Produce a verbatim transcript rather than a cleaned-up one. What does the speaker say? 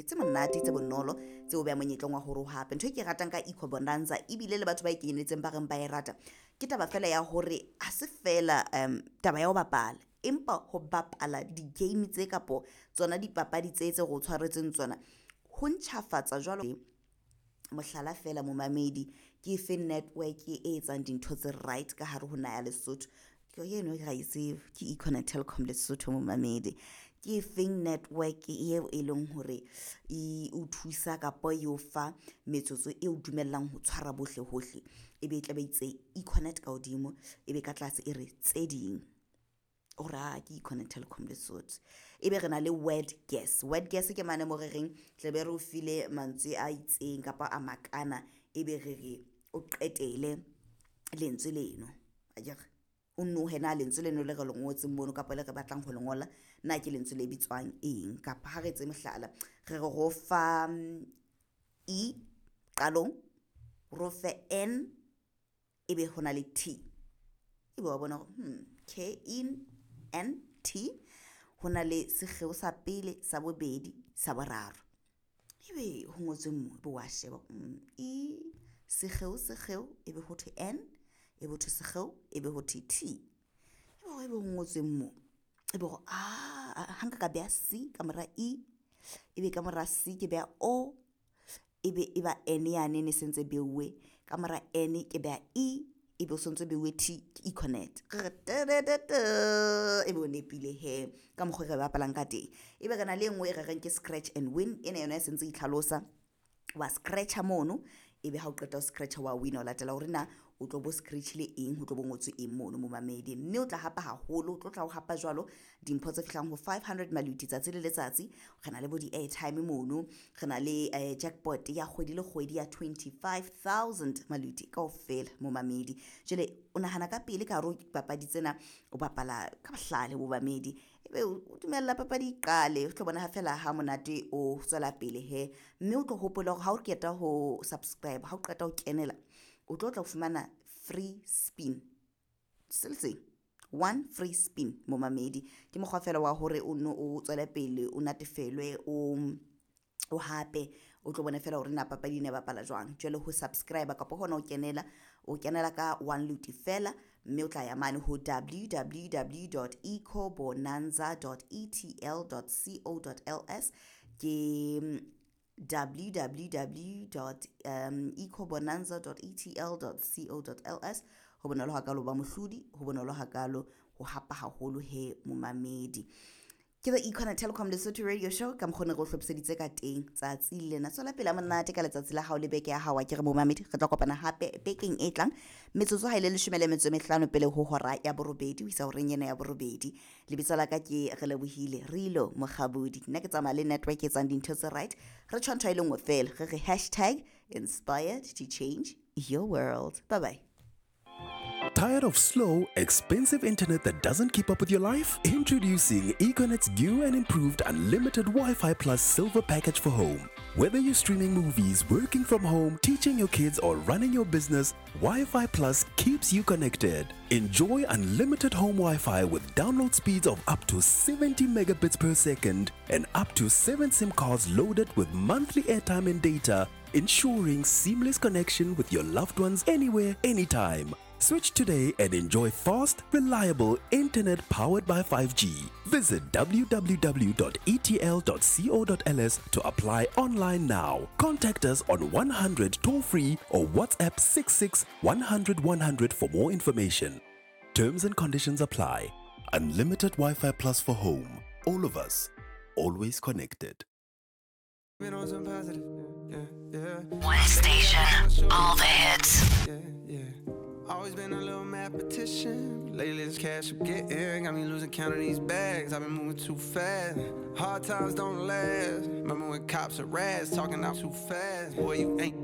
tse tse monate tse bonolo tse o beha monyetleng wa hore o hape. Ntho e ke ratang ka Eco Bonanza ebile le batho ba e kenyelletseng ba reng ba e rata, ke taba fela ya hore ha se fela um taba ya ho bapala, empa ho bapala di-game tse kapo tsona dipapadi tse tse re o tshwaretseng tsona ho ntjhafatsa jwalo. Mohlala fela momamedi, ke efe network e etsang dintho tse right ka hare ho naha ya Lesotho? Ke eno ra e tseba, ke Econet Telkom Lesotho momamedi. Ke efeng network eo e leng hore e o thusa kapa e o fa metsotso e o dumellang ho tshwara bohle hohle? Ebe e tla be itse Econet ka hodimo, ebe ka tlase e re tse ding. O re aa ke Econet Telkom Lesotho. Ebe re na le word guess. Word guess ke mane mo re reng tla be re o file mantswe a itseng kapa a makana, ebe re re o qetele lentswe leno akere, o nohe na lentswe leno le re le ngotseng mono kapa le re batlang ho le ngola na ke lentswe le bitswang eng. Kapa ha re etse mohlala, re re ro fa E qalong, ro fe N, ebe ho na le T, ebe wa bona hore hmm K E N T, ho na le sekgeo sa pele, sa bobedi, sa boraro, ebe ho ngotswe mo, ebe wa sheba E sekgeo sekgeo, ebe ho thwe N, ebe ho thwe sekgeo, ebe ho thwe T, ebe ebe ho ngotsweng mo, ebe hore a ha nka ka beha C ka mora E, ebe ka mora C ke beha O, ebe e ba N yane e ne sentse beuwe, ka mora N ke beha E, ebe o sontso beuwe T, ke Econet. Ebe o nepile he ka mokgwa re bapalang ka teng. Ebe re na le e nngwe e re reng ke scratch and win, ena yona e sentse e itlhalosa. Wa scratcha mono, ebe ha o qeta ho scratcha wa win, o latela hore na o tlo bo scratchile eng, ho tlo bo ngotswe eng mono momamedi. Mme o tla hapa haholo, o tlo tla o hapa jwalo dimpho tse fihlang ho five hundred maluti tsatsi le letsatsi. Re na le bo di-airtime mono, re na le eh, jackpot ya kgwedi le kgwedi ya twenty-five thousand maluti kaofela momamedi. Jwale o nahana ka pele ka hare ho dipapadi tsena, o bapala ka bohlale momamedi, ebe o dumella papadi e qale, o tlo bona ha fela ha monate o tswela pele he. Mme o tlo hopola hore ha o qeta ho subscribe, ha o qeta ho kenela, o tlo tla o fumana free spin se le seng, one free spin momamedi. Ke mokgwa fela wa hore o nno o tswele pele, o natefelwe, o o hape o tlo bona fela hore na papadi ena e bapala jwang. Jwale ho subscribe kapa hona o kenela, o kenela ka one luti fela, mme o tla ya mane ho w w w dot ecobonanza dot e t l dot co dot l s, ke w w w dot ecobonanza dot e t l dot co dot l s. Ho bonolo hakalo ba mohlodi, ho bonolo hakalo ho hapa haholo he momamedi. Ke the Econet Telkom Lesotho Radio Show ka mokgwa o ne re o hlophiseditse ka teng tsatsi lena. Tswela pele monate ka letsatsi la hao le beke ya hao, a ke re momamedi, re tla kopana hape bekeng e tlang metsotso ha ile leshome le metso e mehlano pele ho hora ya borobedi ho isa horeng ena ya borobedi. Lebitso la ka ke Relebohile Rilo Mokgabudi. Nna ke tsamaya le network e etsang dintho tse right. Re tjho ntho e le nngwe fela, re re hashtag inspired to change your world. Bye bye. Tired of slow, expensive internet that doesn't keep up with your life? Introducing Econet's new and improved unlimited Wi-Fi Plus Silver Package for home. Whether you're streaming movies, working from home, teaching your kids, or running your business, Wi-Fi Plus keeps you connected. Enjoy unlimited home Wi-Fi with download speeds of up to seventy megabits per second and up to seven SIM cards loaded with monthly airtime and data, ensuring seamless connection with your loved ones anywhere, anytime. Switch today and enjoy fast, reliable internet powered by five G. Visit w w w dot e t l dot co dot l s to apply online now. Contact us on one hundred toll free or WhatsApp six six one hundred one hundred for more information. Terms and conditions apply. Unlimited Wi-Fi Plus for home. All of us, always connected. Been on some positive, yeah, yeah. One station, all the hits. Yeah, yeah. Always been a little mathematician. Lately this cash I'm getting got me losing count of these bags. I've been moving too fast. Hard times don't last. Remember when cops are rats talking out too fast. Boy, you ain't